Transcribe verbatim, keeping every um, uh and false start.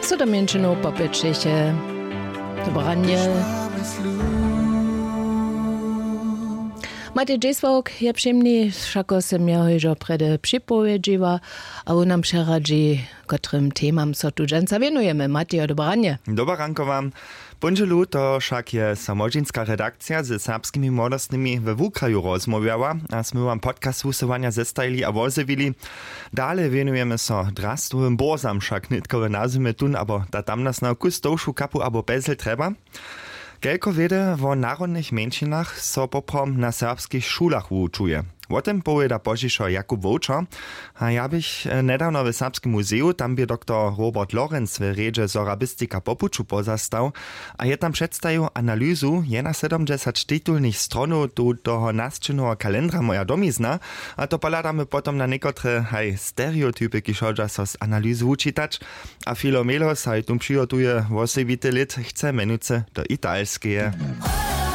Co do mjeńšinow popytšeše. Dobranje. Matej dźesławk je přemni, wšako sym jeho hižo prjedy připowědźiła, a wón nam přeradźi, kotrym temam so tu dźensa wěnujemy. Matejo, dobranje. Dobarankowa. Póńdźelu to wšak je samožinska redakcija ze serbskimi młodostnymi we wukraju rozmołwjała, a smy wam podcast wusyłanja zestajili a wozjewili. Dale wěnujemy so drastowym bórzam, wšak nětko w nazymje tón abo ta tamnasnał kus tołšu kapu abo pezel trjeba. Kelko wědy wo narodnych mjeńšinach so poprawom na serbskich šulach wuwučuje, wo tym powěda pozdźišo Jakub Wowčer. A ja běch njedawno w serbskim muzeju, tam bě doktor Robert Lorenz w rjedźe sorabistika po puću pozastał, a je tam předstajił analyzu jenasydomdźesać titulnych stronow tutoho nasćěneho kalendra moja domizna. A to pohladamy potom na někotre haj stereotypy, kiž hodźa so z analyzu wučitać. A filo melos haj tón přihotuje wosebity lět, chce mjenujcy do italskeje.